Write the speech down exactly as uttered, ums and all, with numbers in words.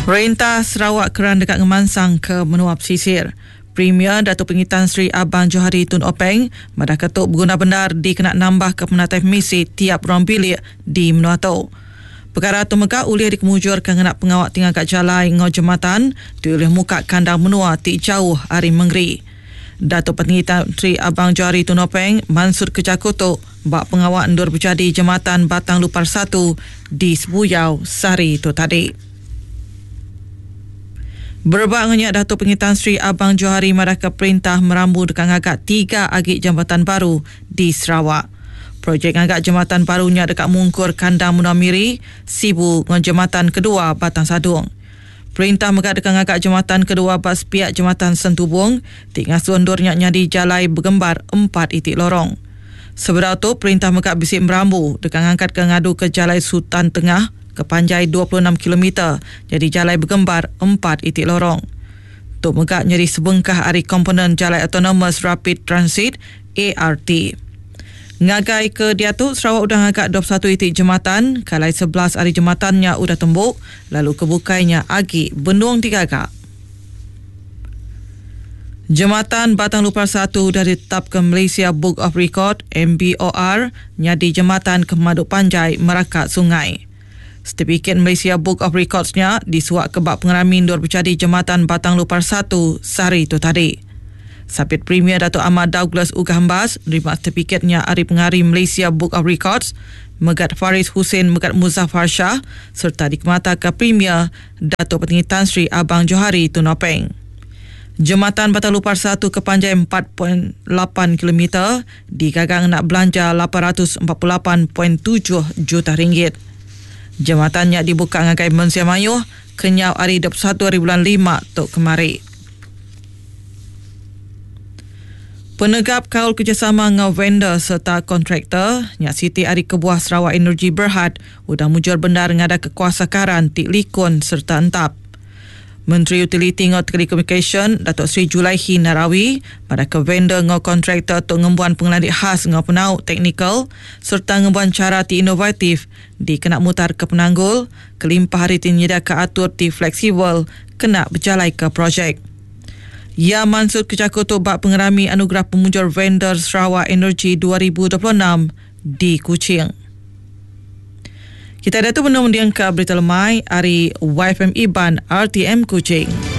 Perintah Sarawak keran deka ngemansang ke menua pesisir. Premier Datuk Patinggi Tan Sri Abang Johari Tun Openg madah ke tu beguna bendar dikena nambah ke penatai pemisi tiap ruang bilik di menua tu. Perkara tu mega ulih dikemujurka ngena pengawa ti ngaga jalai enggau jematan ti ulih muka kandang menua ti jauh ari mengeri. Datuk Patinggi Tan Sri Abang Johari Tun Openg mansutka jaku tu ba pengawa endur bejadi Jematan Batang Lupar satu di Sebuyau sehari tu tadi. Berebak enggau nya, Datuk Patinggi Tan Sri Abang Johari madahka perintah merambu deka ngaga tiga agi jambatan baru di Sarawak. Projek ngaga jematan baru nya deka mungkur kandang menua Miri, Sibu enggau jematan kedua Batang Sadong. Perintah mega deka ngaga jematan kedua ba sepiak Jematan Sentubong ti ngasuh endur nya nyadi jalai begembar empat iti lorong. Sebedau tu, perintah mega bisi merambu deka ngangkatka ngaduka Jalai Sultan Tengah ke panjai dua puluh enam kilometer nyadi jalai begembar empat iti lorong. Tu mega nyadi sebengkah ari komponen Jalai Autonomous Rapid Transit, A R T. Ngagai ke diatu, Sarawak udah ngaga dua puluh satu iti jematan, kalai sebelas ari jematan nya udah tembu, lalu ke bukai nya agi benung digaga. Jematan Batang Lupar satu udah ditetapka Malaysia Book of Record M B O R nyadi jematan ke pemadu panjai meraka sungai. Setipikit Malaysia Book of Records nya disuak ke bak pengerami endur bejadi Jematan Batang Lupar satu sehari tu tadi. Sapit Premier Datuk Amar Douglas Uggah Embas nerima setipikitnya ari pengari Malaysia Book of Records, Megat Faris Hussein Megat Muzaffar Shah serta dikemataka Premier Datuk Patinggi Tan Sri Abang Johari Tun Openg. Jematan Batang Lupar satu ke panjai empat perpuluhan lapan kilometer digaga ngena belanja lapan ratus empat puluh lapan perpuluhan tujuh juta ringgit. Jematan nya dibuka ngagai Mensia Mayuh kenyau hari dua puluh satu hari bulan lima tu kemari. Penegap kaul kerjasama enggau vendor serta kontraktor nya siti ari kebuah Sarawak Energy Berhad udah mujur bendar ngada kekuasa karan ti likun serta entap. Menteri Utiliti enggau Telekomunikasyen Datuk Seri Julaihi Narawi pada ke vendor enggau kontraktor tu ngembuan pengelandik khas enggau penau teknikal serta ngembuan cara ti inovatif dikena mutar ke penanggul kelimpah hari ti nyediaka atur ti fleksibel kena berjalai ke projek. Ia mansut kejaku tu bak pengerami anugerah pemujur vendor Sarawak Energy dua ribu dua puluh enam di Kuching. Kita dah tu menung mendiang ke berita lemai hari Y F M Iban R T M Kuching.